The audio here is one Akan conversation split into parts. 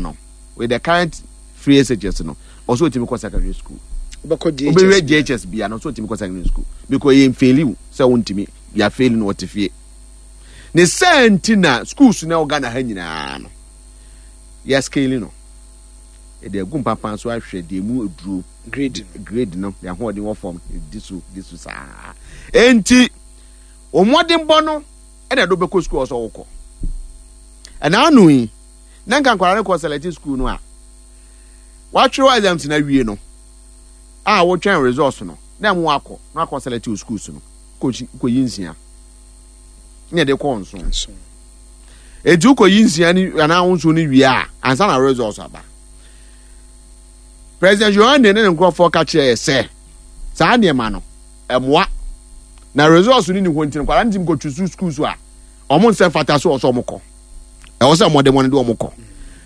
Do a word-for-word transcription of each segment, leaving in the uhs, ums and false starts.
no, with the current free S H S no, ɔsɛ otumi kɔ secondary school. Wobɛkɔ J H S. Wobɛwie J H S bia no, ɔsɛ otumi kɔ secondary school because yɛn fail wo sɛ wontumi yɛ fail no, wɔte fie ne sɛ nti na schools na ɛwɔ Ghana ha nyinaa no, yɛ scale no, yɛde agu mpampan so ahwɛ deɛ mu aduro. Grade no. Grade no, deɛ ahoɔden wɔ fam di so di so saa. Enti wɔn no ɛna ɛde wobɛkɔ school ɔsɛ wokɔ. Ɛna ano yi na nka nkwadaa no kɔ select school no a, watwerɛ exams na awie no a, wotwɛn results no na ɛmo akɔ na akɔ select wo schools no, kɔ kɔyi nsia ne yɛde kɔ nson. Nson. Eti wokɔyi nsia ni anaa nson no wie a, ansa na results aba. President Yohane ne ne nkurɔfoɔ ka kyerɛ yɛ sɛ saa nneɛma no ɛmoa na results no ni hɔ, nti nkwadaa no ti nkɔtwi so schools a ɔmo nsɛ fata so ɔsɛ ɔmo kɔ, ɛwɔ sɛ ɔmo de mo de ɔmo kɔ.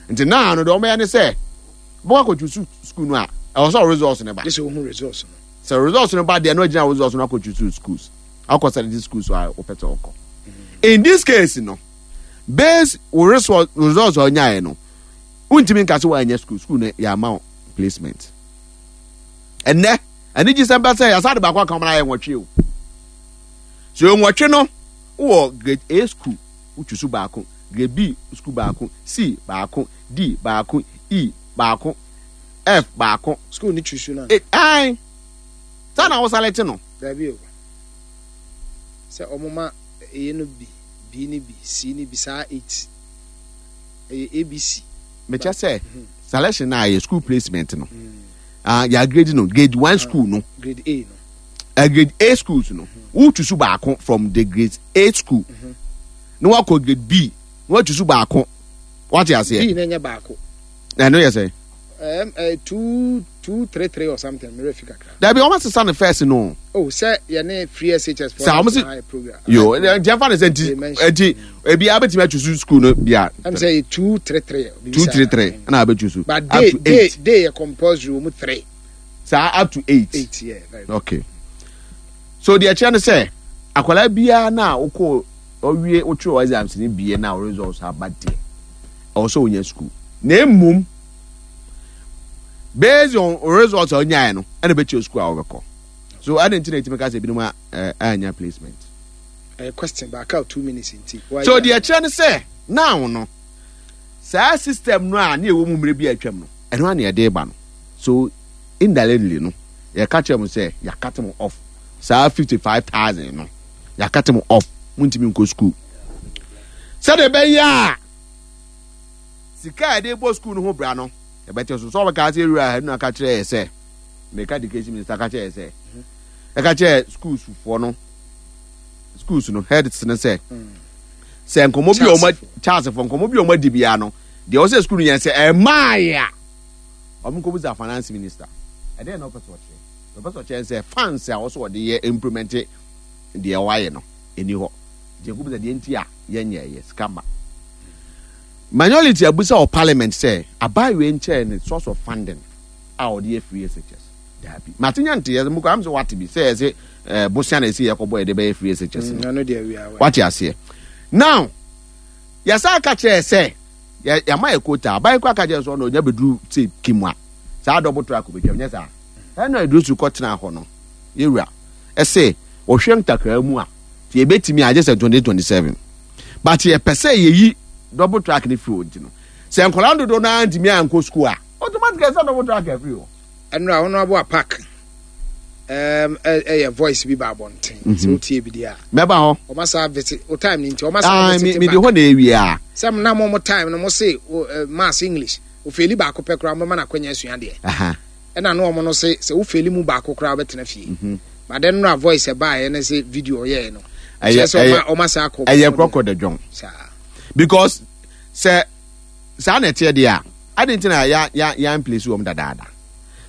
Nti naa no deɛ ɔmo yɛ ne sɛ bɔkɔ akɔtwi so school no a, ɛwɔ sɛ results no ba. Gye sɛ wohu results no. Sɛ results no ba deɛ no, agyina results no akɔtwi so schools, akɔ select schools a wɔpɛ sɛ ɔkɔ. In this case no, base wo result results a ɔnyaeɛ no, wontumi nka sɛ woanyɛ school school no yɛ ama wo placement. Ɛnɛ anigye sɛm bɛ sɛ yɛasa de baako aka wɔn ayɛ nwɔtwe o. So nwɔtwe no, wowɔ grade A school, wotwi so baako, grade B school baako, C baako, D baako, E baako, F baako. School ni twi so no. E ae, saa na woselect no. Daabi o, sɛ ɔmo ma A no bi, B no bi, C no bi, saa eight, ɛyɛ A B C. Mekyɛ sɛ selection na ayɛ school placement no, ah, yɛ grade no, grade one school no. Grade A no. uh, grade A schools no, wotu so baako from the grade A school na wakɔ grade B na watu so baako, wate aseɛ? B na ɛnyɛ baako. Na ɛno yɛ sɛ um, uh, two two three three or something, mmerɛ fi kakra. Dabi, wɔn asesa no first no. Oh, sɛ yɛne free S H S. Sɛ wɔn si yo nti ɛfa ne sɛ nti nti ebi abɛtumi atu so school no bia. Ɛm sɛ yɛ two three three. Two three three ɛna abɛtu so. But day day day yɛ compulsory wɔn mu three. Saa, up to eight. Eight, yeah, very good. Okay, so deɛ kyerɛ no sɛ akwadaa biara na wokɔ ɔwie wotwerɛ exams ne bie na results aba deɛ, ɛwɔ sɛ wonya school, na emom based on results a onyaeɛ no ɛna bɛkyerɛ school a wɔbɛkɔ so. Ɛde nti na etimi ka sɛ ebinom a anya placement. Ɛyɛ question baaka two minutes nti. So deɛ kyerɛ no sɛ now no, saa system no a ne ɛwɔ mu mmerɛ bi a atwam no, ɛno a na yɛde ba no. So indirectly no, yɛka kyerɛ mo sɛ yɛacut mo off saa fifty five thousand no, yɛacut mo off, montumi nkɔ school sɛdeɛ ɛbɛyɛ a sika a yɛde bɔ school no ho bra no yɛbɛte so. Sɛ ɔbɛka sɛ ewura ha nu aka kyerɛ yɛ sɛ meka education minister ka kyerɛ yɛ sɛ ɛka kyerɛ schools foɔ no, schools no heads no, sɛ sɛ nkɔmɔ bi a wɔn Charles fo nkɔmɔ bi a wɔn adi biara no deɛ, ɔsɛ school no yɛn sɛ ɛmaa yɛ a, wɔn nkɔ bisa finance minister. Ɛdɛn na ɔpɛ sɛ ɔkyerɛ? Ɔpɛ sɛ ɔkyerɛ sɛ funds a wɔsɔ wɔde yɛ implement deɛ wɔayɛ no ɛni hɔ, deɛ nkɔ bisa deɛ nti a yɛnyɛ yɛ sika ma. Minority abusa wɔ parliament sɛ abaayewa nkyɛn ne source of funding a ɔde yɛ free S H S. Daabi, mate nya nte yɛ mo kɔ am sɛ wate bi sɛ yɛsɛ ɛɛ bosia na esi yɛ kɔbɔ yɛde bɛyɛ free S H S no. Ɛno deɛ wia. Wate aseɛ? Now yɛsa aka kyerɛ sɛ yɛ yɛama yɛ quota. Aban kɔ aka kyerɛ sɛ ɔno ɔnya bɛduru sɛ kim a, saa double track bɛtwam nyɛ saa. Ɛna Eduru kɔ tena hɔ no, yɛwura ɛsɛ wɔhwɛ ntakra mu a, tí ebetumi agye sɛ twenty twenty seven, but yɛpɛ sɛ yɛyi double track ne firi hɔ. Nti no sɛ nkɔla dodoɔ naa ntumi ankɔ school a, automatically sɛ double track afiri hɔ. Ɛnura Honourable Apaak ɛɛm ɛyɛ voice bi ba abɔnten sɛ wotie bi deɛ a. Mɛba hɔ. Ɔma saa visit o time ni nti ɔma saa ah visit mi mi de hɔ na ewie a. Sɛ na mo mo time no, mo se o maths, English o fail baako pɛ koraa, mo ma na akɔnya asua deɛ. Ɛna no ɔmo no se sɛ wo fail mu baako koraa, wobɛtena fie. But then no a voice ɛbaeɛ ne sɛ video ɔyɛɛ no ɛyɛ kyerɛ sɛ ɛyɛ ɔma ɔma saa kɔ. Ɛyɛ korɔkorɔ de dwɔn. Saa. Because sɛ saa na ɛteɛ deɛ a, adi nti na ya ya ya place wɔm dadaada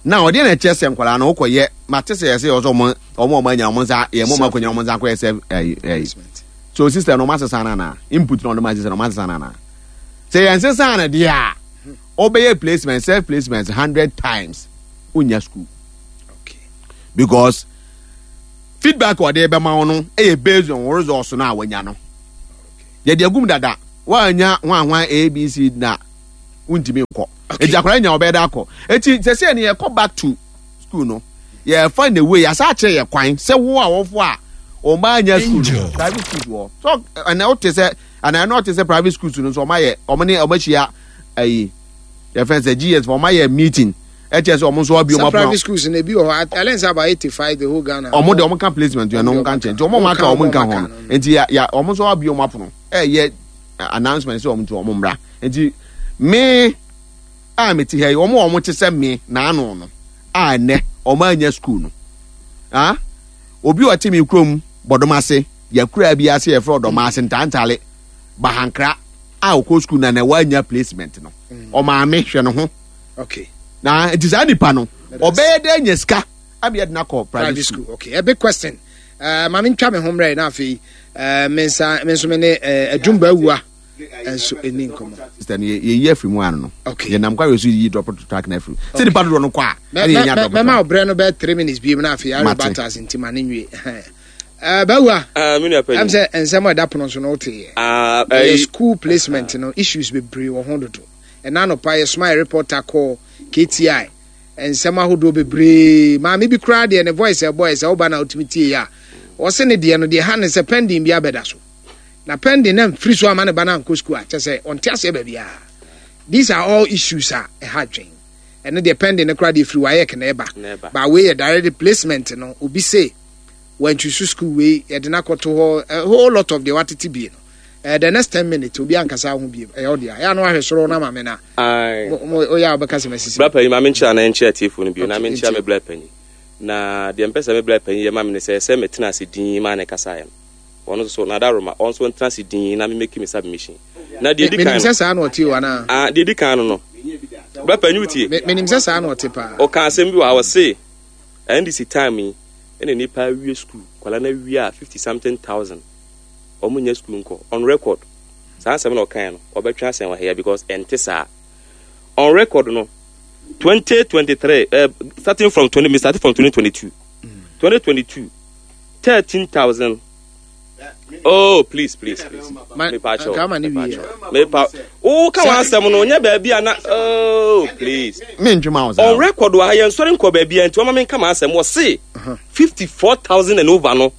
na ɔdeɛ na ɛkyɛ sɛ nkwadaa no wokɔyɛ mate sɛ yɛsɛ yɛ sɛ ɔmo ɔmo ɔmo anya ɔmo nsa yɛ mo ɔmo akɔnya ɔmo nsa akɔyɛ sɛ ɛyi ɛyi. So system no ɔmo asesa na na input na ɔmo asesa na ɔmo asesa na na sɛ yɛn sesa na deɛ a, ɔbɛyɛ placement, self placement hundred times, wonya school. Okay because feedback a ɔde bɛma wo no ɛyɛ based on results no a wanya no. Yɛde agum dada, woanya hwanhwan A B C na Wontumi nkɔ. Eti akwadaa nya ɔbɛyɛ dɛ akɔ. Eti sɛ sɛ ne yɛkɔ back to school no, yɛfa in a way yɛasa akyerɛ yɛ kwan sɛ wo a wɔfo a ɔmo anya school no, private schools wɔ so. Ɛnna wote sɛ ɛnna ɛnna ɔte sɛ private schools no nso, ɔmo ayɛ, ɔmo ne ɔmo ahyia ayi, yɛfɛn sɛ G E S, ɔmo ayɛ meeting, ɛkyɛ sɛ ɔmo nso abi ɔmo Sɛ private schools na ebi wɔ hɔ, I learn say about eighty five the whole Ghana. Ɔmo de ɔmo ka placement yɛn no ɔmo ka nkyɛn, nti ɔmo ɔmo aka ɔmo nka ho no, nti ya ya ɔmo nso abi ɔmo apono, ɛyɛ announcement sɛ ɔmo nti ɔmo mmra. Nti me a me ti ha yi, ɔmo a ɔmo te sɛ me n'ano no a ɛnɛ ɔmo anya school no, ah, obi a ɔte mi kurom Bɔdɔm ase, yɛkura bi ase, yɛfrɛ Ɔdɔm ase, Ntantale, Bahankra, a ɔkɔ school na na wanya placement no, ɔmaame hwɛ ne ho. Okay na nti saa nipa no ɔbɛyɛ dɛ nya sika abi ɛde n'akɔ private school? Okay, a big question. uh, maame, ntwa me ho mmerɛ na afei uh, me nsa me nso me ne uh, Adwumba Awua nso ɛni nkɔmmɔ. Sister no, yɛyi afiri mu ano no. Okay. Yɛnam kwa yɛ so yiyi drop track na afiri sɛ nipa dodoɔ no kɔ a, ɛne yɛnya drop mɛma track. Ɔbrɛ no bɛyɛ three minutes biem na afei Mate. areba tas nti ma ne nwie. Uh, bawua Ah, me nua ɛm panyin. sɛ nsɛm a ɛda pono so no woteyɛ Ah, ɛyɛ ɛyi- school placement no issues bebree wɔ ho dodo. Ɛna anɔpa yɛsoma yɛ reporter kɔɔ K T I, nsɛm ahodoɔ bebree. Maame bi koraa deɛ, ne voice ɛbɔ ɛ sɛ woba na wotumi tie a, ɔse ne deɛ no deɛ ha ne sɛ pending bi abɛda so na pending na mfiri so ama ne ba no ankɔ school a, kyɛ sɛ ɔnte aseɛ baabiaa. These are all issues a ɛha dwen. Ɛno deɛ, pending no koraa deɛ firi WAEC na ɛba. Na ɛba. Ba wei yɛ direct placement no. Obi se wantwisu school wei, yɛde no akɔto hɔ, a whole lot of deɛ watete bie no. uh, the next ten minutes, obi ankasa ho bie, ɛyɛ ɔdeɛ ɛyɛ ano ahwɛ soro na maame na Aye. mo mo oyɛ a wobɛka sɛ masisi. Bra panyin, maame nkyerɛ na nkyerɛ atiefo no bio na Okay, menkyerɛ nti. Me bra panyin, na deɛ mpɛ sɛ me bra panyin yɛ ma me ne sɛ sɛ metena ase din maa ne kasaeɛ no, ɔno nso so nada roma, ɔno nso ntena ase din na memeki me submission. Na deɛ di menim kan sɛ no saa na ɔte o anaa? Ah, deɛ di kan no no bra panyin, wotie. Me- menim sɛ saa na ɔte paa. Ɔka asɛm bi wɔ ha, ɔse N D C time yi ɛna nipa awie school, kwala no awie a fifty something thousand ɔmo nya school nkɔ. On record, saa asɛm na ɔkae no, ɔbɛtwe asɛm wɔ ha because ɛnte saa. On record no, twenty twenty-three, uh, starting from twenty, starting from twenty twenty-two, twenty twenty-two, thirteen thousand. Oh, please, please, please. Ma- Mepa kyɛw, nka ama ne mepa wie. kyɛw. Mepa wo ka wɔn asɛm no nyɛ baabi a na, oh please. Mentwema wo saa. On record wɔ ha, yɛn nsɔre nkɔ baabi a, nti wɔn ma menka ma asɛm. Wɔ se fifty four thousand and over no,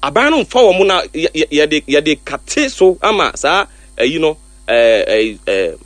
aban no nfa wɔn na yɛ- yɛ- yɛde yɛde kate so ama saa ɛyi no, ɛɛ ɛɛ ɛɛ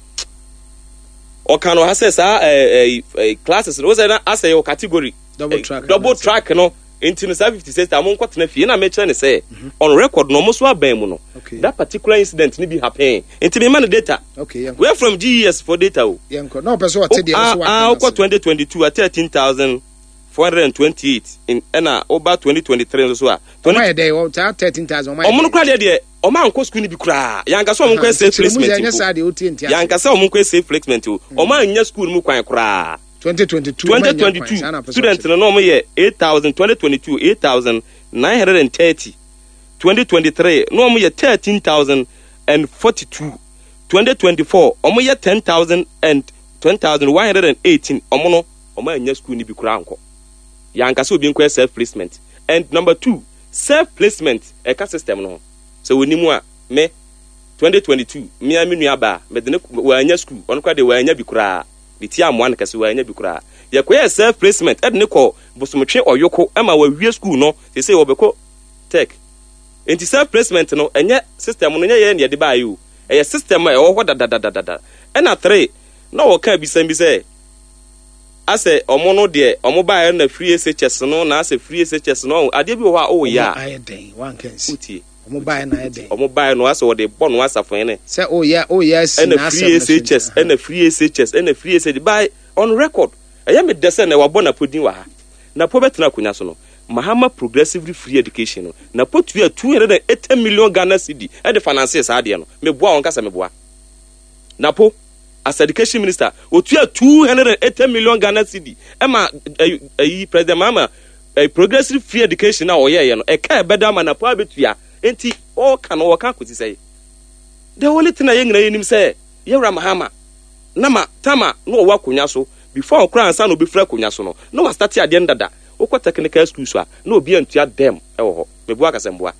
ɔka no ha sɛ saa ɛɛ ɛɛ classes no wosɛ na asɛ yɛ wɔ category double eh, track double anaasɛ- track no. Nti no saa fifty six a mo nkɔ tena fie na mɛkyerɛ ne sɛ on record no, ɔmo so aban mu no, Okay. that particular incident ni bi happen, nti mi ma no data. Okay, yɛnkɔ. We are from G E S for data o. Yɛnkɔ na ɔpɛ sɛ ɔte deɛ Ah, no so ah, waka wokɔ twenty twenty-two a, thirteen thousand four hundred and twenty-eight in, ɛna woba twenty twenty-three nso so a, ɔmo ayɛ dɛ wɔ saa thirteen thousand ɔmo ayɛ ɔmo no dɛ? kora deɛ deɛ ɔmo ankɔ school no bi koraa. Yɛanka sɛ ɔmo nkɔ safe placement ɛnyɛ mpo. saa deɛ wotie nti ase. Yɛanka sɛ ɔmo nkɔ safe placement o, ɔmo anya school no mu kwan koraa. twenty twenty-two ɔmo anya kwan, saa na twenty twenty-two pɛ sɛ student ɔkyerɛ. no na ɔmo yɛ eight thousand, twenty twenty-two eight thousand nine hundred and thirty, twenty twenty-three na ɔmo yɛ thirteen thousand and forty-two, twenty twenty-four ɔmo yɛ ten thousand and ten thousand one hundred and eighteen. Ɔmo no ɔmo anya school no bi koraa nkɔ. Yɛanka sɛ obi nkɔ self placement. And number two, self placement ɛka system no ho sɛ wɔnim a, me twenty twenty-two mmea me nua baa mede ne wɔanya school, ɔno koraa deɛ wɔanya bi koraa ne ti amoa no kɛse, wɔanya bi koraa. Yɛkɔyɛ self placement ɛde ne kɔ Bosomtwe Ɔyoko ɛma wɔawie school no, sese wɔbɛkɔ tech. Nti self placement no, ɛnyɛ system no nyɛ yɛ ne yɛde baayɛ o, ɛyɛ system a ɛwɔ hɔ dadadadada. Ɛna three na wɔka bisɛm bi sɛ asɛ ɔmo no deɛ ɔmo baayɛ no na free S H S no, na asɛ free S H S no, adeɛ bi wɔ hɔ a ɔwɔ yɛ Ɔmo a ayɛ dɛn wanka nsi? Wotie. Ɔmo baayɛ na ayɛ dɛn? Ɔmo baayɛ no, asɛ wɔde bɔ no asafo ne sɛ oyɛ oyɛ asi ɛna n'asɛm free no so. S H S, ɛna free S H S, ɛna free S H S by on record. Ɛyɛ me dɛ sɛ na wabɔ Napo din wɔ ha. Napo bɛtena akonnwa so no, Mahama Progressively Free Education no, Napo tua two hundred and eighty million Ghana cedi ɛde finance saa adeɛ no. Meboa wɔn kasa, meboa Napo as education minister, otua two hundred and eighty million Ghana cedi ɛma ɛyi ɛyi President Mahama ɛyi Progressive Free Education a ɔyɛɛyɛ no, ɛka ɛbɛda ama Napo abɛtua. Nti ɔɔka no, ɔka akɔsi sɛ the only thing a yɛn nyinaa yɛnim sɛ yɛwura Mahama nama tama na ɔwɔ akonnwa so before ɔkora ansa na obɛfiri akonnwa so no, na wastart adeɛ no dada. Wokɔ technical schools a, na obi antua dɛm ɛwɔ hɔ. Meboa kasɛmboa,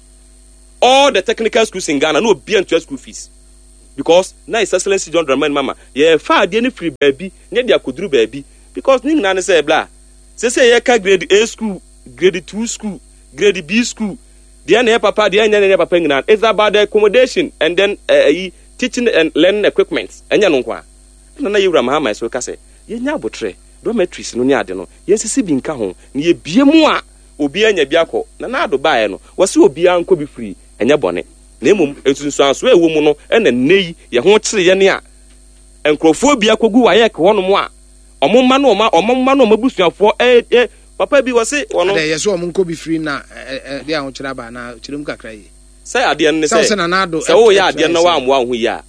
all the technical schools in Ghana, na obi antua school fees. Because na His Excellency John Dramani Mahama yɛfa adeɛ no firi baabi ne yɛde akɔduru baabi, because ne nyinaa ne sɛ bla sɛ sɛ yɛka grade A school, grade two school, grade B school deɛ na yɛ papa deɛ nyɛ na yɛ papa nyinaa, it's about the accommodation and then ɛyi uh, teaching and learning equipment. Ɛnyɛ no nko a ɛna na yɛwura Mahama so ka sɛ yɛnya abotire, dormitories no ne ade no, yɛnsisi bi nka ho na yɛbie mu a obiara nya bi akɔ. Na naado baeɛ no, wɔsi obiara nkɔ bi firi, ɛnyɛ bɔne, na mmom nsunsuansoɔ a ɛwɔ mu no ɛna nne yi yɛ ho kyerɛ yɛn a nkurɔfoɔ bi akɔgu WAEC hɔnom a ɔmo mma no ɔmo ɔmo mma no ɔmo abusuafoɔ ɛ ɛ papa bi wɔsi wɔno. Adɛ yɛ so ɔmo nkɔ bi firi na ɛ ɛ de ahokyerɛ aba na kyerɛ mu kakra yi. Sɛ adeɛ no ne sɛ sɛ sɛ Nana Addo sɛ woyɛ adeɛ no na woammoa wo ho yie a,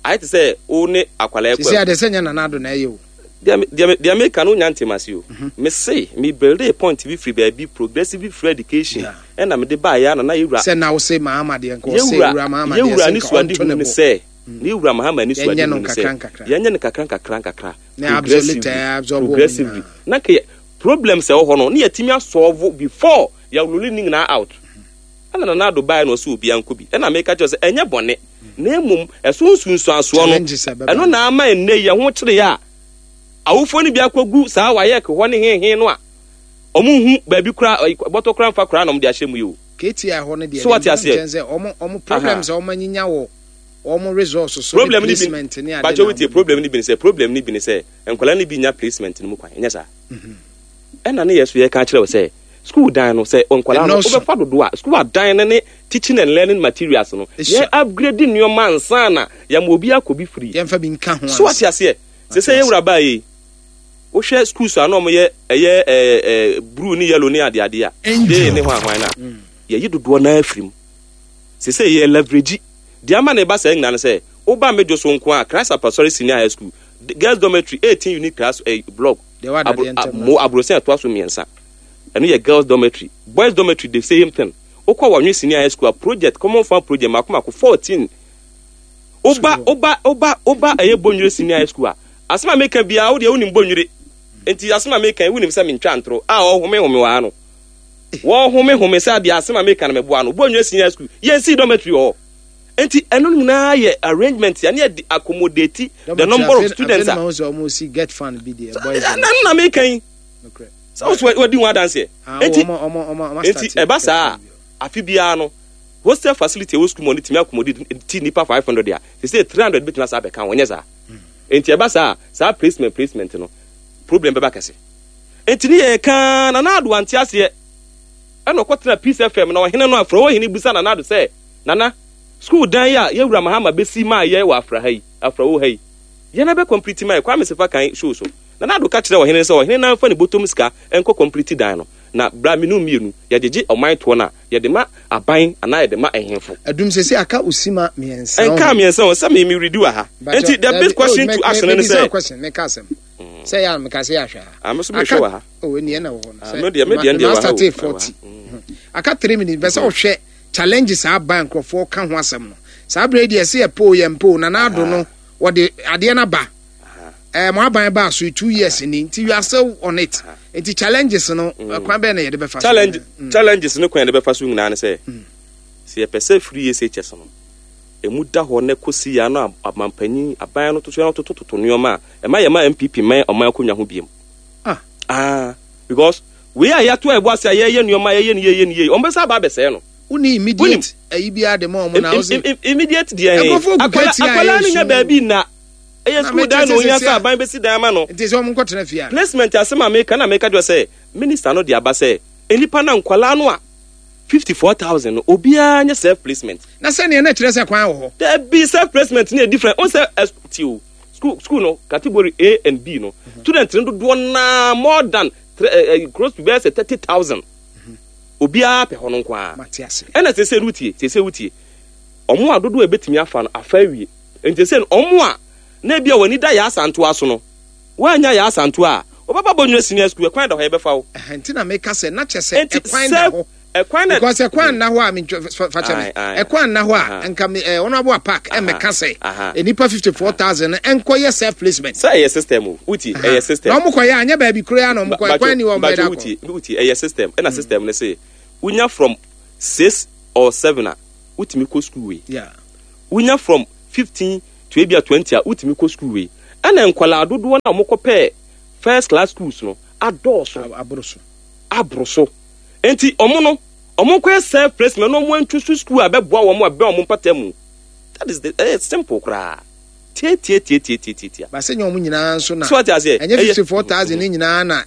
ayɛ te sɛ wo ne akwalaa sisi kɔ ade sɛ nyɛ Nana Addo na ɛyɛ o. Deɛ deɛ deɛ meka no, wonya ntem ase o. Me se me build a point bi firi baabi, progressive free education, Yeah. ɛna mede baeɛ a na na yɛwura sɛ na wose Mahama deɛ nka ɔsɛ yɛwura wura Mahama deɛ yɛwura sɛ ne nka suade ɔnto hu ne ne bo sɛ ne yɛwura Mahama ne suade Yɛnyɛ no hu ne sɛ nkakra nkakra. Yɛnyɛ no kakra nkakra nkakra. Na absolute, eh, absorb wɔn Progressively nyinaa. Na ka yɛ- problems ɛwɔ hɔ no ne yɛtumi asolve before yɛroll ne nyinaa out. Ɛna Nana Addo baeɛ na ɔsɛ obiara nkɔ bi, ɛna meka kyerɛ sɛ ɛnyɛ bɔne, na mmom ɛso nsunsuansoɔ no Challenges a ɛbɛba. Ɛno na ama ɛnnɛ yi ɛho kyerɛ a awofoɔ no bi akɔgu saa WAEC hɔ ne hehe no a ɔmo hu baabi kora bɔtɔ kora mfa kora na ɔmo de ahyɛ mu yi o. K T I hɔ no deɛ So what deɛ you say? nkyɛn sɛ ɔmo ɔmo problems a ɔmo anyinya wɔ ɔmo resource so ne Problem ni bi placement ne ade bakyɛ na wotie ɔmo- problem ni bi ne sɛ problem ni bi ne sɛ nkwadaa no bi nya placement no mu kwan, ɛnyɛ saa? Ɛna ne yɛ so yɛka kyerɛ wo sɛ school dan no, sɛ nkwadaa no Ɛnɔɔso. wobɛfa dodo a, school adan no ne teaching and learning materials no, Esua. yɛ upgrade nneɛma ansa na yɛma obi akɔ bi free. Yɛmfa bi nka ho So wate ansa. aseɛ sɛ sɛ yɛwura baa yi, wohwɛ schools a na ɔmoyɛ ɛyɛ ɛɛ ɛɛ blue ne yellow ne adeade a de ne hwan hwan na yɛyi dodoɔ naa afiri mu sɛ sɛ yɛ leverage deɛ ama ne ba saa nyinaa no sɛ woba Medwo so nko a, Christ Apostolic Senior High School the girls dormitory, eighteen unit class eh, block. Deɛ wada Abro- deɛ ntɛm a- mo aborɔsɛn ɛtoa so mmiɛnsa, ɛno yɛ girls dormitory. Boys dormitory, the same thing. Wokɔ Wɔnwe Senior High School a, project, common fund project mako mako fourteen. Woba woba woba woba ɛyɛ Bonwire Senior High School a, asɛm a meka biara, wodeɛ wonim Bonwire nti asɛm a meka yi, wonim sɛ mentwa ntoro a ɔhome home wɔ ha no, wɔhome home sɛ adeɛ asɛm a meka no mɛboa no. Bonwire Senior High School, yɛnsii dormitory wɔ hɔ, nti ɛno nyinaa yɛ arrangement yɛne yɛde accommodate the number of students a afei na mahu sɛ ɔmo si get fund bi deɛ boys ɛno na meka yi nokorɛ. Sɛ wo so wadi ho adanseɛ. Ah, nti ɔmo- ɔmo- ɔmo- ɔmo nti start ɛba saa get fund a, afe biara no hostel facility ɛwɔ school mu ɔno tumi accommodate ti nipa five hundred a, sɛ three hundred bɛtumi asa abɛka wɔnyɛ saa. Nti ɛba saa a, saa placement placement no problem bɛba kɛse. Nti ne yɛ kaa Nana Addo ante aseɛ, ɛna ɔkɔtena Peace F M na ɔhene no afra ɔhene busa Nana Addo sɛ, "Nana, school dan yi a yɛwura Mahama bɛsi maa yɛ wɔ afra ha yi, Afrawo ha yi, yɛn bɛ complete maa yɛ?" Kwame Sefa kan show so, Nana Addo ka kyerɛ ɔhene sɛ ɔhene nan fa ne bɔtɔm sika nkɔ complete dan no, na bra menu mmienu yɛgyegye ɔman toɔ no a, yɛde ma aban anaa yɛde ma ɛhemfo. Adum sɛ sɛ aka osima mmiɛnsa. Ɛnka mmiɛnsa o, sɛ me me redi wɔ ha. Nti the big question to ask no ne sɛ question meka asɛm sɛ yɛ a meka sɛ yɛ ahwɛ ha. Ah, me so mehwɛ wɔ ha. Oh, ɛni ɛna wɔ hɔ no. Ah, me deɛ- me deɛ deɛ wɔ ha o. Start Wɔ ha. forty aka three minutes bɛ sɛ wohwɛ challenges a aba, nkurɔfoɔ ka ho asɛm no saa berɛ yi deɛ ɛsɛ yɛ po yɛ mpo Nana Addo no wɔde adeɛ no aba ɛɛ mo aban ba so two years ni, nti you are still on it, nti challenges no, kwan bɛn na yɛde bɛfa so? Challenge Mm. Challenges no kwan yɛde bɛfa so nyinaa ne sɛ sɛ yɛpɛ sɛ free S H S no emu da hɔ na kɔsi ya no, amampanyin aban no toto no totototo nneɛma a ɛma yɛ ma N P P man ɔman akonnwa ho biem. Ah. Ah, because wei a yɛato a ɛbɔ ase a yɛyɛ nneɛma, yɛyɛ no yɛyɛ no yie, ɔmo bɛsa aba abɛsɛɛ no. Woni immediate ayi biara de ma ɔmo na Im- wose im- im- immediate deɛ he Nkurɔfoɔ gu akwala kɛtɛ a akwala no ɛyɛ nya su. Baabi na ɛyɛ Na school mɛkyerɛ dan na sɛ ohia sɛsi sɛ a- aban bɛsi dan ama no. Nti sɛ ɔmo nkɔtena fie a Placement asɛm a meka na meka kyerɛ sɛ minister no de aba sɛ nnipa na nkwalaa no a fifty four thousand no, obiara nyɛ self placement. Na sɛnea na kyerɛ sɛ kwan wɔ hɔ. Dabi, self placement ne yɛ different o. Sɛ ɛ ti o, school school no category A and B no, student no dodoɔ naa more than three ɛ ɛ close to bɛyɛ sɛ thirty thousand, obiara pɛ hɔ no nko ara. Mate ase. Ɛna sese wutie, sese wutie, ɔmo a dodoɔ a ebetumi afa no afa awie, nti sɛ ɔmo a na ebi a wɔn ani da yɛ asantoa so no, wɔanya yɛ asantoa a, wɔbɛba Bɔnwere Senior School, ɛkwan da hɔ, yɛbɛfa wo. Ɛhɛ, nti na meka sɛ na kyɛ sɛ Nti ɛkwan da sɛ hɔ ɛkwan na because ɛkwan nna hɔ a mentwa fa kyɛ me. Aye, aye. Ɛkwan nna hɔ a Aha. nka me ɛ Honourable Park ɛmɛka sɛ aha. nipa fifty four thousand ɛnkɔyɛ self placement. Sɛ ɛyɛ system o, wutie, ɛyɛ system. Na ɔmo kɔyɛ anyɛ baabi kura na ɔmo kɔ, ɛkwan ni wɔn bɛda Bajo kɔ. Wutie, wutie, ɛyɛ system. Ɛna system ne sɛ wonya from six or seven a, wotumi kɔ school wei. Yeah. Wonya from fifteen to ebi a twenty a wotumi kɔ school wei. Ɛna nkwadaa dodoɔ na wɔn kɔpɛɛ first class schools no adɔɔso. Aboro so. Aboro so. Nti ɔmo no, ɔmo nkɔyɛ self placement na ɔmo ntu so school a bɛboa wɔn a bɛn ɔmo mpata mu. That is the ɛyɛ simple koraa. Tie tie tie tie tie tie tie. Baasa nyɛ ɔmo nyinaa nso na So ate aseɛ? Ɛnyɛ Ɛyɛ- fifty four thousand ne nyinaa na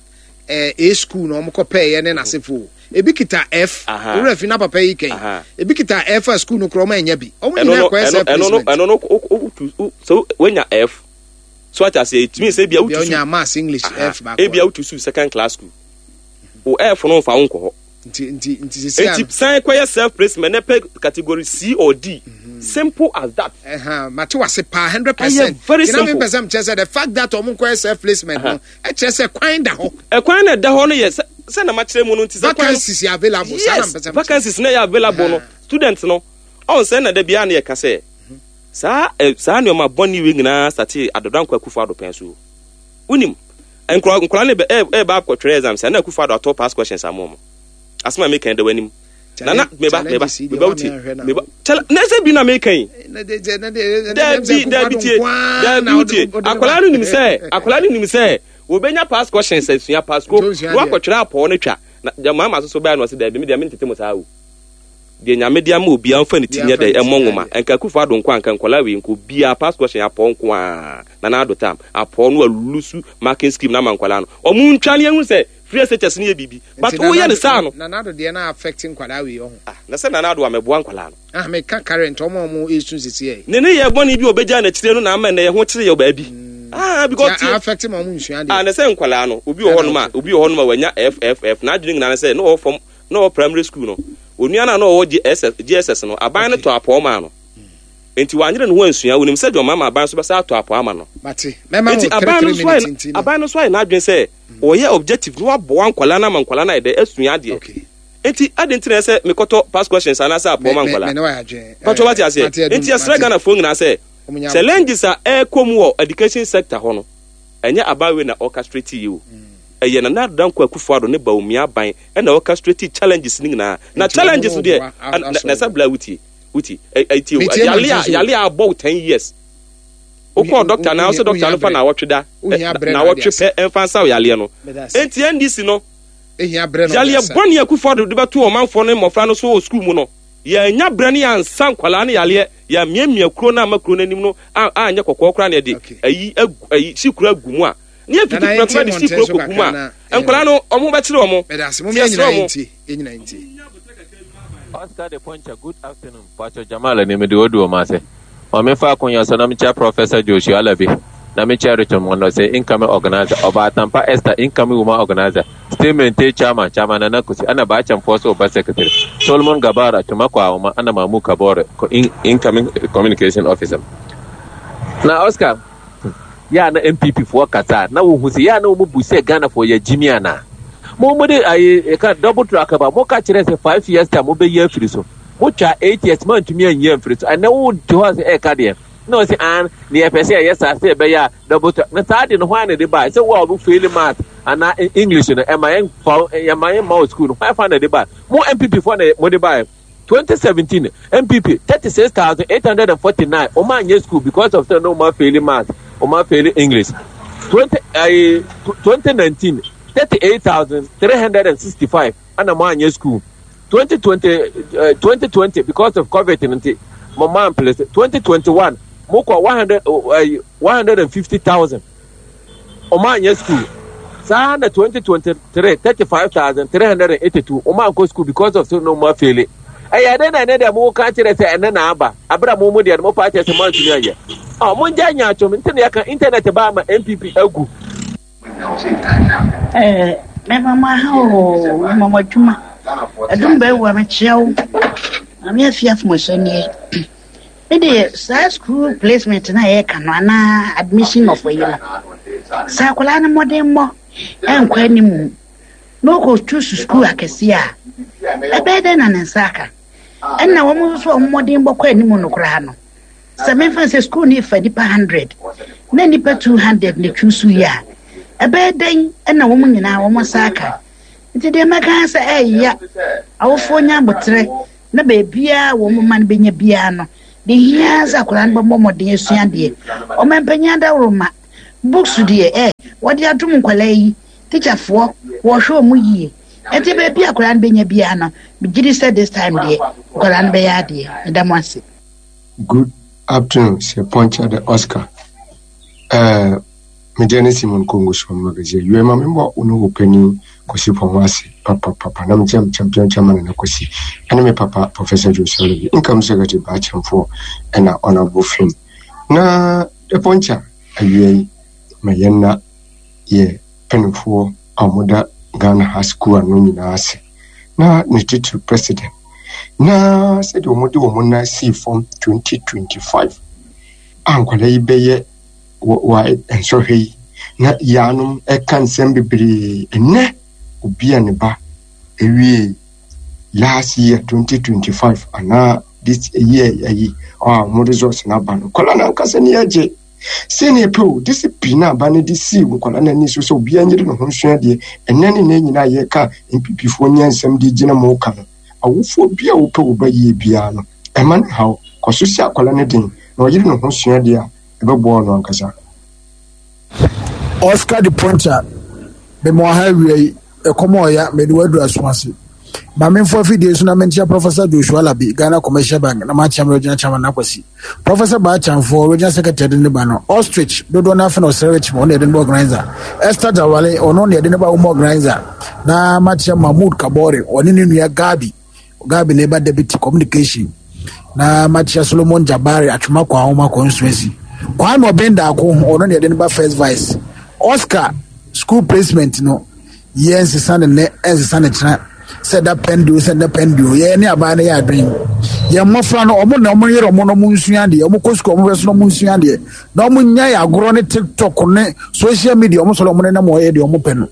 ɛɛ A school na ɔmo kɔ pɛɛyɛ ne n'asefo. Ebi kita F. Aha. Owurɛ fi na papa yi kɛn. Aha. Ebi kita F a school no korɔ ɔmo ɛnyɛ bi. Ɔmo Ɛno nyinaa no kɔyɛ ɛno self ɛno no placement. ɛno no o o o so wenya F. So ate aseɛ, it means ebi a Ebi wotu ɔnya maths, English F baako. Ebi a wotu so second class school. O F no nfa wo nkɔ hɔ. Nti nti nti sisi Nti ano. san kɔyɛ self placement na pɛ category C or D. Simple as that. Ɛhɛn, mate wase paa hundred percent. Ɛyɛ very Gyina mi simple. mpɛ sɛ kyerɛ sɛ the fact that ɔmo nkɔyɛ self placement no ɛkyerɛ sɛ kwan da hɔ. Ɛkwan na ɛda hɔ no yɛ sɛ sɛ na makyerɛ mu no, nti sɛ kwan no Vacancies yɛ available. Saa na Yes, mpɛ sɛ mekyerɛ. vacancies na yɛ available no, student no ɔn sɛ na da biara na yɛka sɛ saa ɛ saa nneɛma bɔne wei nyinaa sate Addo Dankwa Akufo Addo pɛn so. Wonim nkora nkora ne bɛ ɛ ɛba akɔtwerɛ exam sɛ na Akufo Addo atɔ past questions ama ɔmo. Asɛm a meka da w'anim nana, meba meba meba, wotie, meba kyɛlɛ na ɛsɛ bi na meka yi. Dabi dabi, tie, dabi, wotie. Akwadaa no nim sɛ akwadaa no nim sɛ wɔbɛnya past questions asua pasco Nti onsua na wakɔtwerɛ apɔw no twa na gyama ama soso bɛyɛ no. Ɔsɛ dabi, mi deɛ mentete mo saa o. Deɛ Nyame de ama obiara mfa ne ti nyɛ dɛ ɛmmɔ nwoma. Nka Akufo Addo nko a, nka nkɔla wei nka obiara past question apɔw nko a. Nana Addo tam apɔw no alusu marking scheme na ama nkɔla no ɔmo ntwa ne ehu sɛ free S H S no yɛ biribi, but woyɛ ne saa no. Nana Addo deɛ na affect nkwadaa wei ɔho. Ah, na sɛ Nana Addo a mɛboa nkɔla no. Ah, meka current ɔmo a ɔmo esu sisi yɛ. Ne ne yɛ bɔne bi a ɔbɛgya n'akyire no na ama nnɛ yɛ ho kyerɛ yɛ baabi. Ah, because Ti a affect ma ɔmo nsua ah deɛ. Na sɛ nkwadaa no, obi wɔ hɔnom a obi wɔ hɔnom a wanya F F F, n'adwene nyinaa ne sɛ na ɔwɔ fam na ɔwɔ primary school no, onua no a na ɔwɔ G S S G S S no, aban no tɔ apɔw maa no, nti wanyere ne ho ansua. Onim sɛ deɛ ɔma aban so bɛsa atɔ apɔw ama no. Mate, mɛma Nti wo aban no three nso three minutes ayɛ nti no. Aban no nso ayɛ n'adwene sɛ ɔyɛ objective na waboa nkwadaa no ama nkwadaa no ayɛ dɛ asua adeɛ. Okay. Nti adi nti na ɛsɛ mekɔtɔ past questions anaasɛ apɔw ma Me- me- nkwadaa me ne wayɛ adwene. Patro, wate aseɛ? Mate, Adum, Nti yɛsrɛ mate. Ghanafoɔ nyinaa sɛ Ɔmo nya challenges a ɛrekɔ mu wɔ education sector hɔ no, ɛnyɛ abawe na orchestrate yi o. Ɛyɛ Nana Addo Dankwa Akufo Addo ne Bawumia aban ɛna orchestrate challenges no nyinaa na Nti challenges ɔmo deɛ boa na asɔre. na sɛ bla wutie wutie ɛ ɛ tie o. Metie Yale ma a nti so. yale a abɔ wo ten years, wokɔɔ doctor na wosɛ doctor no fa na awɔtwe da Wohia ɛ, brɛ na na awɔtwe ade asa. pɛ ɛmfa nsa wo yaleɛ no. Meda ase. Enti N D C no Ehia brɛ na ɔde yaleɛ asa. bɔne Akufo Addo de bɛto ɔmanfoɔ no mmɔfra no so wɔ sukuu mu no, yɛanya berɛ no yɛansa nkwalaa no yaleɛ, yɛamiamia kuro no ama kuro no anim no a- anyɛ kɔkɔɔ koraa na yɛde Okay. ayi agu ayi si kuro agu mu a ne yɛfiti Nana, prɛko yɛntie de si mmɔnten kuro so kɔgu mu kakra a na- nkwalaa no ɔmo bɛkyerɛ ɔmo. Meda ase. Mo Nti yɛn yɛsrɛ nyinaa ɔmo. yɛntie. Yɛn nyinaa yɛntie. Oscar de Poncha, good afternoon. Pacho Jamal ni mede odu o mase. Ma fa akonya so na mekyia Professor Joshua Alabi. Na mekyia Richard Mono sɛ incoming organizer, Ɔba Atampa Esther, incoming woman organizer, Stay Maintain chairman, Chairman Nana Kusi, ana Baachamfoɔ so ɔba secretary, Solomon Gabara, Tumako Awoma, ana Mamu Kabore, co- in, incoming communication officer. Na Oscar, yɛ a na N P P foɔ kasa na wohu sɛ yɛ a na wɔn bu sɛ Ghana foɔ yɛ gyimi ana. Mo mo de ayi ɛka double track ba, mo ka kyerɛ sɛ five years time mo bɛ yi afiri so. Mo twa eight years mo antumi anyi afiri so. Ɛnɛ wo te hɔ sɛ ɛka deɛ na ɔsi an ne yɛpɛ sɛ ɛyɛ saa sɛ ɛbɛyɛ a double track na saa de no hwan na de ba sɛ wo a ɔmo fail math anaa English no, ɛma yɛn fa ɛma yɛn ma wɔ school no, hwan fa na de ba? Mo N P P foɔ na mo de ba yɛ. twenty seventeen N P P, thirty-six thousand eight hundred forty-nine ɔmo anyɛ school because of say no ɔmo fail math, ɔmo fail English. twenty ɛɛ twenty nineteen, thirty-eight thousand three hundred sixty-five ɛna mo anyɛ school. twenty twenty uh, twenty twenty, because of COVID nti mo man place. twenty twenty-one mo kɔ one hundred uh, one hundred fifty thousand ɔmo anyɛ school. Saa na twenty twenty-three, thirty-five thousand three hundred eighty-two ɔmo ankɔ school because of say no mo afail. Ɛyɛ dɛ na ɛnɛ deɛ mo ka kyerɛ sɛ ɛnɛ na aba abira mo mo deɛ mo pa kyerɛ sɛ mo antumi ayɛ ɔ mo ngya nya atwom. Nti na yɛka internet ba ama N P P agu. Eh, mɛma ha o, mɛma mo adwuma. Ɛdum bɛwu a mekyia wo. Maame afi afomɔhyɛ nie. Mede saa school placement na yɛka no anaa admission of yi no. Sɛ akwadaa no mmɔden mmɔ ɛnkɔ anim na ɔkɔtu so school akɛseɛ a, ɛbɛyɛ dɛn na ne nsa aka? Ɛnna wɔn nso a wɔn mmɔden bɔkɔ anim no koraa no, sɛ memfa sɛ school no fa nipa hundred na nipa two hundred na twi so yi a, ɛbɛyɛ dɛn ɛna wɔn nyinaa wɔn nsa aka? Nti deɛ mɛka sɛ ɛyɛ awofoɔ nya abotrɛ na beebiara wɔn mma no bɛnya biara no De hia sɛ akwadaa no bɛbɔ mmɔden asua adeɛ. Ɔmampanyin adaworoma, books deɛ ɛ wɔde adom nkwadaa yi, tikyafoɔ wɔhwɛ wɔn yie. Ɛnti baabi a akwadaa no bɛnya biara no, megye di sɛ this time deɛ nkwadaa no bɛyɛ adeɛ. Meda mo ase. Good afternoon, Sir Poncha the Oscar. Uh, me deɛ ne Simon Kongo so magazine. Yue ma me mbɔ wo ne wo panin Kwasi Pɔn ase papapapa na mekyɛ me champion chairman Nana Kwasi ɛne me papa Professor Joseph Levi income secretary Baakyɛmfoɔ ɛna honorable Finn na the Poncha awia yi ma yɛn na yɛ mpanimfoɔ a wɔda Ghana ha sukuu ano nyinaa ase na ne titiri president na sɛdeɛ wɔde wɔn nan sii fam twenty twenty-five a nkwadaa yi bɛyɛ wɔ wɔ nsɔhwɛ yi na yaanom ɛka nsɛm bebree ɛnɛ obi a ne ba ewie last year twenty twenty-five anaa this year ayi a wɔn results n'aba no nkwadaa n'ankasa ni agye sɛnea pɛ o discipline a aba no de sii nkwadaa n'ani so sɛ obiara nyere ne ho nsua deɛ ɛnɛ ne ne nyinaa yɛka N P P foɔ nyɛ nsɛm de gyina mu ka no awofoɔ bi a wopɛ wo ba yie biara no ɛma ne haw kɔ so si akwadaa no den na ɔyere ne ho sua deɛ a ɛbɛboa no ankasa. Oscar de Poncha, mema ɔha awia yi, ɛkɔm a ɔya mede waduru aso ase. Ma memfo afidie so na menkyia Professor Joshua Labi, Ghana Commercial Bank, na makyia me regional chairman Nakwasi. Professor Baachamfoɔ, regional secretary de ne ba no. Ostrich, dodoɔ no afe na ɔsrɛ rich ma ɔno yɛde ne ba organizer. Esther Jawale, ɔno na yɛde ne ba wɔn organizer. Na makyia Mahmood Kabore, ɔne ne nua Gabi. Gabi na ɛba deputy communication. Na makyia Solomon Jabari, Atwoma Kwa Ahoma constituency. Kwame Ɔbɛn Daako, ɔno na yɛde ne ba first vice. Oscar, school placement no, yɛn nsesa ne nnɛ, ɛnsesa ne kyena sɛ da pɛndio sɛ da pɛndio yɛn ne aban no yɛ adwene. Yɛn mmɔfra no, ɔmo na ɔmo yere ɔmo na ɔmo nsua adeɛ, ɔmo kɔ sukuu, ɔmo hwɛ so na ɔmo nsua adeɛ, na ɔmo nya yɛ agorɔ ne TikTok ne social media ɔmo sɔrɔ ɔmo nenam ɔyɛ deɛ ɔmo pɛ no.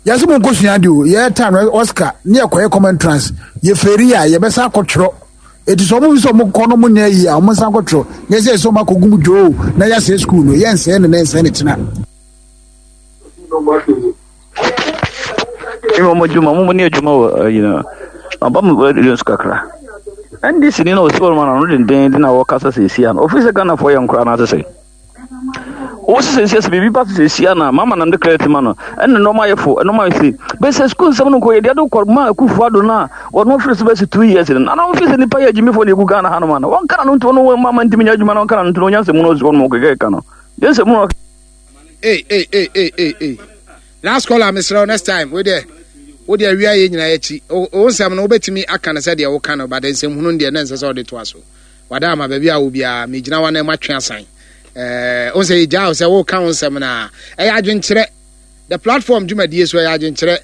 Yɛsɛ mo nkɔ sua adeɛ o. Yɛ time no, Oscar ne yɛkɔyɛ common entrance, yɛ feri a yɛbɛsa akɔtwerɛ. Eti sɛ ɔmo fi sɛ ɔmo kɔ no ɔmo nyɛ yie a, ɔmo nsa akɔtwerɛ. Nyɛ sɛ sɛ ɔmo akɔ gum dwoo na yɛasɛe sukuu no, yɛnsɛe ne ne nsɛe ne kyena. Ɛmi wɔn adwuma wɔn ne adwuma wɔ ɛyi no aba mu ɛdi nso kakra. N D C ni na osi wɔn ano denden de na wɔkasa sɛsi ano ofi sɛ Ghanafoɔ yɛ nkora n'asese wosi sɛsi sɛ biribi ba sɛsi ana mama nam de credit ma no ɛna nneɛma ayɛ fo, nneɛma ayɛ se bɛsɛ sukuu nsɛm no nkɔ yɛ deɛ de kɔ ma Akufo Ado no a wɔn firi so bɛsi two years no na wɔn fi sɛ nipa yɛ agyimifoɔ na egu Ghana hanom ana wɔn kana no nto no wɔn mama ntumi nyɛ adwuma na wɔn kana no nto no wɔn nsɛm no osi wɔn mo kɛkɛ ka no deɛ nsɛm no. Hey, hey, hey, hey, hey, hey. Last caller, mesrɛ wo, next time wo deɛ wo deɛ awia yɛ nyinaa akyi wo nsɛm no wobɛtumi aka no sɛdeɛ woka no, but nsɛm hunu deɛ na ɛnsɛ sɛ wode toa so. Wada ama baabi a wo biara megyina wa na matwe asan ɛɛ wo sɛ yɛgyaa wo sɛ woka wo nsɛm no a ɛyɛ adwenkyerɛ. The Platform dwumadie so ɛyɛ adwenkyerɛ.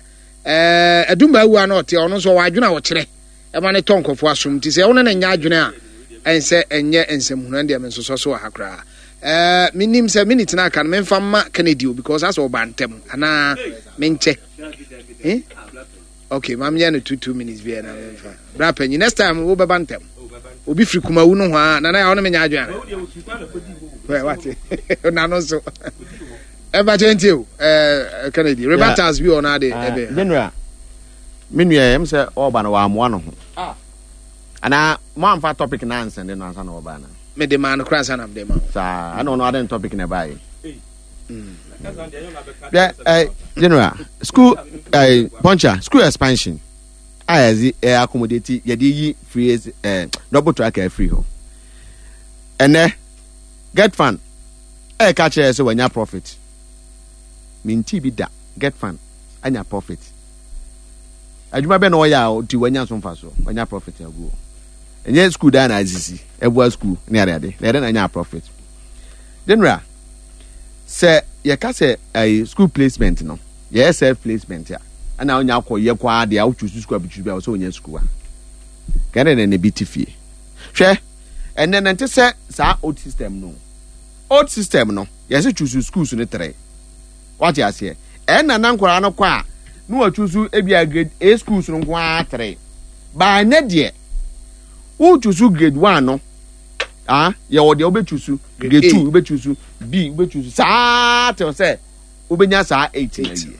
Ɛɛ adumba awua no ɔte ɔno nso ɔwɔ adwene a ɔkyerɛ ɛma ne tɔ nkɔfoɔ asom, nti sɛ wo ne ne nyɛ adwene a ɛnsɛ ɛnyɛ nsɛm hunu. Ɛndeɛ me nsosɔ so wɔ ha koraa. ɛɛ menim sɛ minute na aka no memfa mma Kennedy o, because asɛ ɔba ntɛm anaa menkyɛ, eh? Okay, ma menyɛ no two two minutes bi na memfa bra panyin. Next time wobɛba ntɛm. Obi firi Kumawu no hɔ a nana yɛ ɔne menya adwene ana wate nano nso ɛba kyɛ nti o. ɛɛ Kennedy, rebuttals bi wɔ no ade ɛbɛ. General, me nua yɛm sɛ ɔba no wɔamoa no ho anaa moamfa topic na ansɛnde no ansa na ɔba no? Mede maa no koraa ansa na mede ma wo. Saa ɛna ɔno ade topic na ɛbaeɛ. Hwɛ ɛ, general, school ɛ poncha school expansion a yɛdze ɛ accommodate yɛde yi free ɛ double track afiri hɔ. Ɛnɛ GETFund ɛɛka kyerɛ sɛ wanya profit. Minti bi da GETFund anya profit. Adwuma bɛ na ɔyɛ a ɔti wanya so mfa so wanya profit agu hɔ? Ɛnyɛ school dan na asisi ɛboa school ne adeade na yɛde na anya profit. General, sɛ yɛka sɛ ɛyi school placement no yɛyɛ self placement a ɛna ɔnya akɔ yɛ kɔ adeɛ a wotwi school abitwi bi a wɔsɛ ɔnya school a kɛne na ne bi te fie. Hwɛ, ɛnɛ nante sɛ saa old system no old system no yɛsɛ choose schools no tere wate aseɛ. Ɛnna na nkwaraa no kɔ a na wɔtwi ebi a grade A schools no nko ara tere baa. Ɛnɛ deɛ wotwi so grade one no ah yɛwɔ deɛ wobɛtwi so grade two, wobɛtwi so B, wobɛtwi so saa till sɛ wobɛnya saa eight na yie.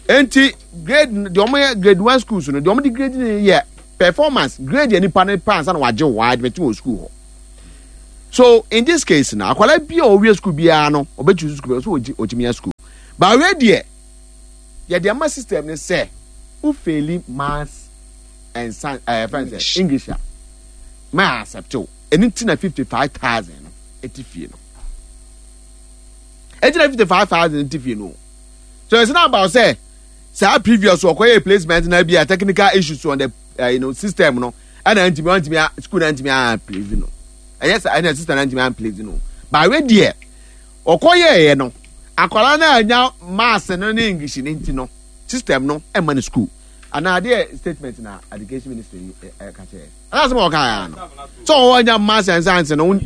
Nti grade deɛ wɔn yɛ grade one schools no deɛ wɔn de grade no yɛ performance grade yɛ nipa ne pa ansa na wagye wɔ admit wɔ school hɔ. So in this case na akwadaa bi a ɔwie school biara no, ɔbɛtu school bi so ɔtumi yɛ school. But wei deɛ, yɛde ama system ne sɛ wo fail maths and science, ɛɛ fɛn sɛ English a, ma accept o. Ɛni ti na fifty five thousand no ɛti fie no. Ɛti na fifty five thousand ti fie no. So it's not about say saa previous ɔkɔyɛ placement na bi a technical issues on the uh, you know, system no, ɛna ntumi ntumi school na ntumi a place no. Ɛyɛ sɛ ɛna system na ntumi a place no. But wei deɛ, ɔkɔyɛ yɛ no, akwadaa na anya maths no ne English ne nti no, system no ɛma no school. Ana adeɛ statement na education ministry ɛka kyerɛ. Ɛna asɛm a ɔka yɛ no. So ɔwɔ anya maths and science no,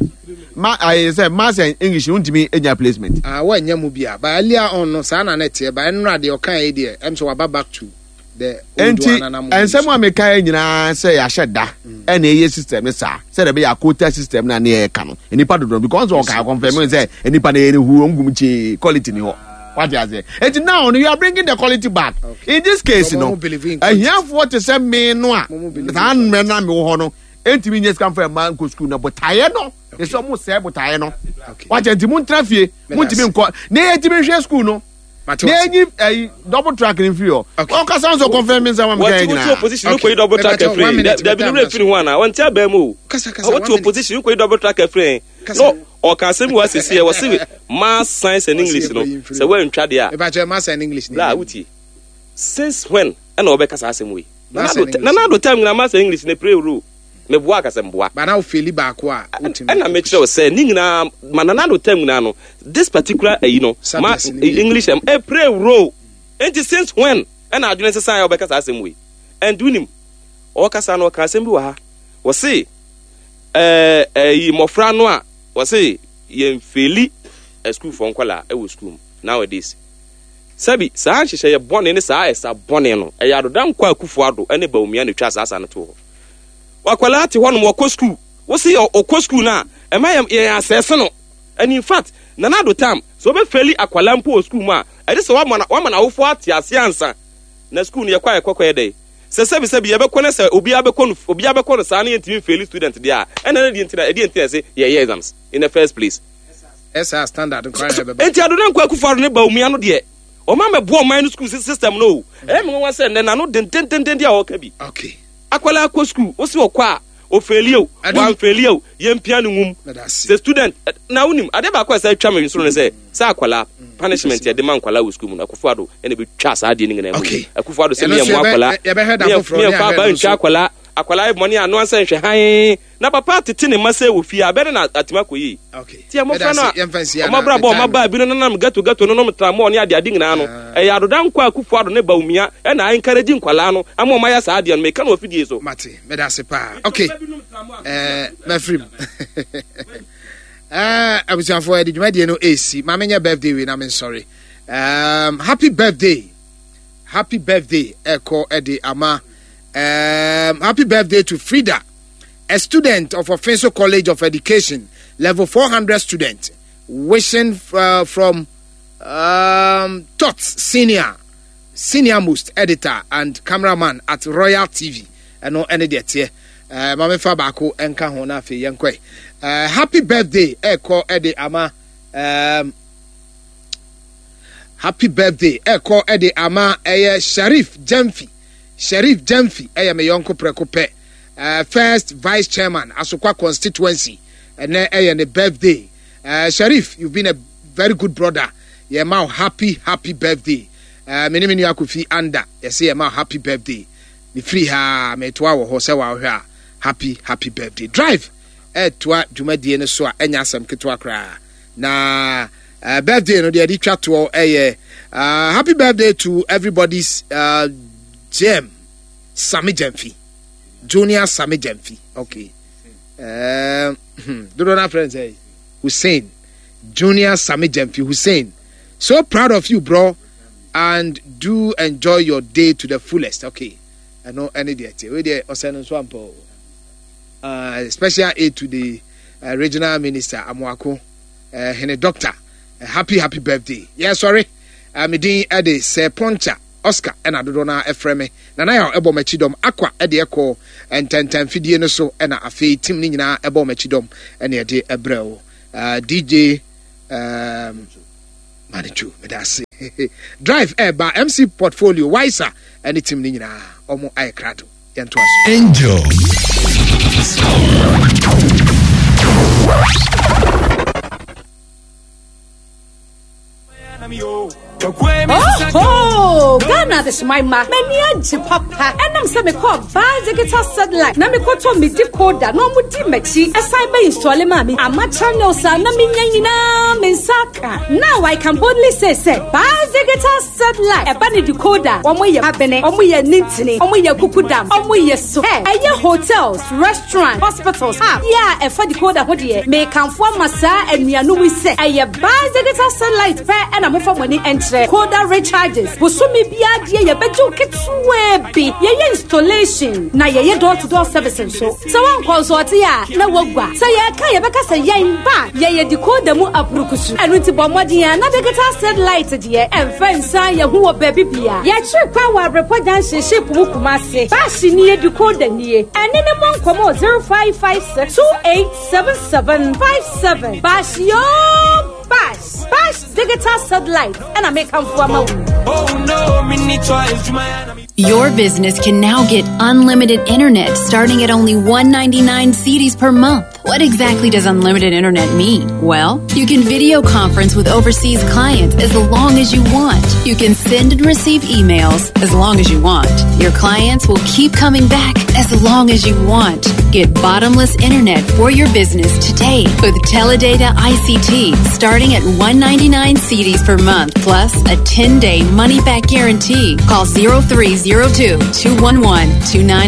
ma ayɛ sɛ maths and English no ntumi anya placement. Ah, wɔnyɛ mu bia. But earlier on no, saa na na ɛteɛ. But ɛnora deɛ ɔka yi deɛ, ɛm sɛ waba back to the old Enti one na mo nsɛm a meka yɛ nyinaa sɛ yɛahyɛ da ɛna ɛyɛ system ne saa sɛdeɛ ɛbɛyɛ quota system na ne yɛka no nipa dodoɔ, because ɔka confirm sɛ nipa no yɛ ne hu ɔngum kyee quality ni hɔ, wate aseɛ? Enti now no, you are bringing the quality back. Okay. In this case So, no, mo believe in quality. ahiafoɔ te sɛ me no a Mo mo believe in saa mmerɛ no a mewɔ hɔ no ɛntumi nyɛ sika mfa mma nkɔ school no, botaeɛ no ɛsɛ ɔmo sɛɛ botaeɛ no. Okay. Wakyɛ nti montena fie, montumi nkɔ na yɛntumi nhwɛ school no Mate na wase. ɛnyi ɛyi double track ne mfiri hɔ. Okay. Ɔkasa nso confirm mi nsɛm a meka wɔte yɛ wote nyinaa. opposition Okay. wokɔyi double track Mepakyɛ, one afiri minute, dabi ne metam werɛ na firi ho anaa wɔnte abaa mu o. Kasa, kasa, Wɔte one minute. opposition wokɔyi double track afiri. Kasa. No, ɔka asɛm bi wɔ asesi ɛ, wɔse maths, science and English no, Wɔse yɛkɔyi mfiri sɛ woantwa deɛ a Mepakyɛ, maths and English ne bla yɛ. wotie, since when ɛna wɔbɛka saa asɛm wei? Maths and English. Nana Addo time nyinaa maths and English ne play role. Meboa akasɛ mboa. But now fail baako a, wotumi. Ɛna mekyerɛ wo sɛ ne nyinaa ma Nana Addo time nyinaa no, this particular ayi no ma Subjects ne bi. English ɛm ɛ play role. Enti since when ɛna adwene sesan a wɔbɛka saa asɛm wei? And wonim ɔkasa no, ɔka asɛm bi wɔ ha, wɔse ɛɛ ɛyi mmɔfra no a wɔse yɛn fail asukuufoɔ nkɔlaa ɛwɔ sukuu mu nowadays, sɛbi saa nhyehyɛeɛ bɔne ne saa ɛsa bɔne no, ɛyɛ Addo Dankwa Akufo Addo ɛne Bawumia na etwa saa asa no to hɔ. Wakwadaa te hɔnom, wɔkɔ sukuu, wosi ɔkɔ sukuu no a, ɛma yɛn yɛn asɛse no. And in fact, Nana Addo time, sɛ wɔbɛ fail akwadaa mpo wɔ sukuu mu a, ɛde sɛ wama na wama n'awofoɔ ate ase ansa na sukuu no yɛkɔ a yɛkɔ kɔyɛ dɛ sɛ sɛbi sɛbi yɛbɛkɔ ne sɛ obiara bɛkɔ no, obiara bɛkɔ no saa ne yɛntumi fail student deɛ a, ɛna ne deɛ ntina ɛdeɛ ntina sɛ yɛyɛ exams in the first place? Ɛsa standard nkwa na ɛbɛba. Enti Addo Dankwa Akufo Addo ne Bawumia no deɛ, ɔma mɛboa ɔman no school system no o. Ɛyɛ me nwanwa sɛ nnɛ n'ano dendendenden a ɔka bi. Okay. Akwadaa akɔ school, wosi ɔkɔ a o fail o, Adum. wan fail o, yɛmpia no nwum. Meda ase. Sɛ student ɛ, na wonim adeɛ baako a ɛsɛ atwa me nsoro no sɛ sɛ akwadaa punishment yɛde ma nkwalaa wɔ school mu no, Akufo Addo ɛna bɛtwa saa adeɛ no nyinaa mu. Okay. Akufo Addo sɛ Ɛno meyɛ nso mmoa yɛbɛ- akwadaa yɛbɛhwɛ da foforɔ ne meyɛmfa ahwɛ aba no ntwa nso. Akwadaa akwadaa yɛ bɔne a, no ansa nhwɛ hann na papa tete ne mma sɛ wɔ fie a bɛne na atumi akɔ yie. Okay. Ti mmɔfra no a Yɛmfa nsi ɔmo abrabɔ, ɔmo aba bi no nanam ghetto ghetto no nom tramɔ ne ade ade nyinaa no, ɛyɛ Addo Dankwa Akufo Addo ne Bawumia ɛna encourage nkwalaa no ama ɔmo ayɛ saa adeɛ no. Meka no wɔ fidie so. Mate, meda ase paa. Okay. Eh, mɛfirim. Eh, abusuafoɔ, yɛde dwumadie no ɛsi. Ma menyɛ birthday wei na mensɔre. Um, happy birthday. Happy birthday ɛkɔ ɛde ama um, happy birthday to Frida, a student of Offinso College of Education, level four hundred student, wishing uh, from um, Tots Senior, senior most editor and cameraman at Royal T V. Ɛno ɛne deɛ teɛ. uh, ma mefa baako ɛnka ho na afei yɛnkɔe. uh, happy birthday ɛkɔ ɛde ama um, happy birthday ɛkɔ ɛde ama ɛyɛ Sharif Jamfi. Sharif Jamfi ɛyɛ me yɔnko prɛko pɛ, uh, first vice chairman, Asokwa constituency. Ɛnɛ ɛyɛ ne birthday. uh, sharif you've been a very good brother. Yɛ ma wo happy happy birthday. uh, me ne me nua Kofi anda yɛsɛ yɛ ma wo happy birthday. Mefiri ha metoa wɔ hɔ sɛ wɔahwɛ a, happy happy birthday. Drive ɛtoa dwumadie no so a, ɛnyɛ asɛm ketewa koraa na uh, birthday no deɛ yɛde twa toɔ ɛyɛ uh, happy birthday to everybody's uh, gem Sami Jamfi, Junior Sami Jamfi. Okay, um, dodo na friend say Hussein, Junior Sami Jamfi Hussein, so proud of you, bro, and do enjoy your day to the fullest. Okay, ɛno ɛne deɛ te wei deɛ ɔsɛ no nso ampa o. uh, special aid to the uh, regional minister Amoako uh, hene doctor, uh, happy happy birthday. Yeah, sorry, uh, me din ɛde Sir Poncha. Oscar ɛna dodoɔ no ɛfrɛ me Nana Yaw ɛbɔ m'akyi dɔm akwa ɛde ɛkɔ ntɛntɛn fidie no so ɛna afei team no nyinaa ɛbɔ m'akyi dɔm ɛna ɛde ɛbrɛ wo uh, D J um, Manichu, meda ase. Drive ɛɛba M C Portfolio Wiser ɛne team no nyinaa ɔmo ayɛ krado, yɛntoa so. Angel. Oh, Ghana adehyemma, m'ani agye papa. Ɛnam sɛ mekɔɔ Baa Digital Satellite na mekɔtɔ me decoder na ɔmo di m'akyi ɛsan bɛ install maa me ama channels a na menya nyinaa me nsa aka. Now I can boldly say sɛ Baa Digital Satellite ɛba ne decoder, wɔn yɛ abene, wɔn yɛ nintini, wɔn yɛ kukudam, wɔn yɛ so. Ɛ ɛyɛ hotels, restaurant, hospitals a yɛ a ɛfa decoder ho deɛ, mekanfo ama saa anuanom yi sɛ ɛyɛ Baa Digital Satellite pɛ ɛna mofa mo ani nkyerɛ. Decoder recharges, bosome biara deɛ yɛbɛgye wo ketewaa bi. Yɛyɛ installation na yɛyɛ door to door service nso. Sɛ woankɔ nso ɔte a na woagua sɛ yɛka yɛbɛka sɛ yɛn ba yɛyɛ decoder mu apurukusu. Ɛno nti bɔ mmɔden a na Digital Satellite deɛ ɛmfa nsa yɛn ho wɔ baabi bia. Yɛkyere kwan wɔ Abrepɔ Junction ship mu, Kumase. Baahye nie, decoder nie. Ɛne ne mmɔ nkɔmmɔ zero five five six two eight seven seven five seven. Baahye yoo, Bash Bash Digital Satellite ɛna mekamfo ama wo. Your business can now get unlimited internet starting at only one hundred ninety-nine cedis per month. What exactly does unlimited internet mean? Well, you can video conference with overseas clients as long as you want. You can send and receive emails as long as you want. Your clients will keep coming back as long as you want. Get bottomless internet for your business today with Teledata I C T starting at one hundred ninety-nine cedis per month plus a ten-day money-back guarantee. Call zero three zero two two one one two nine.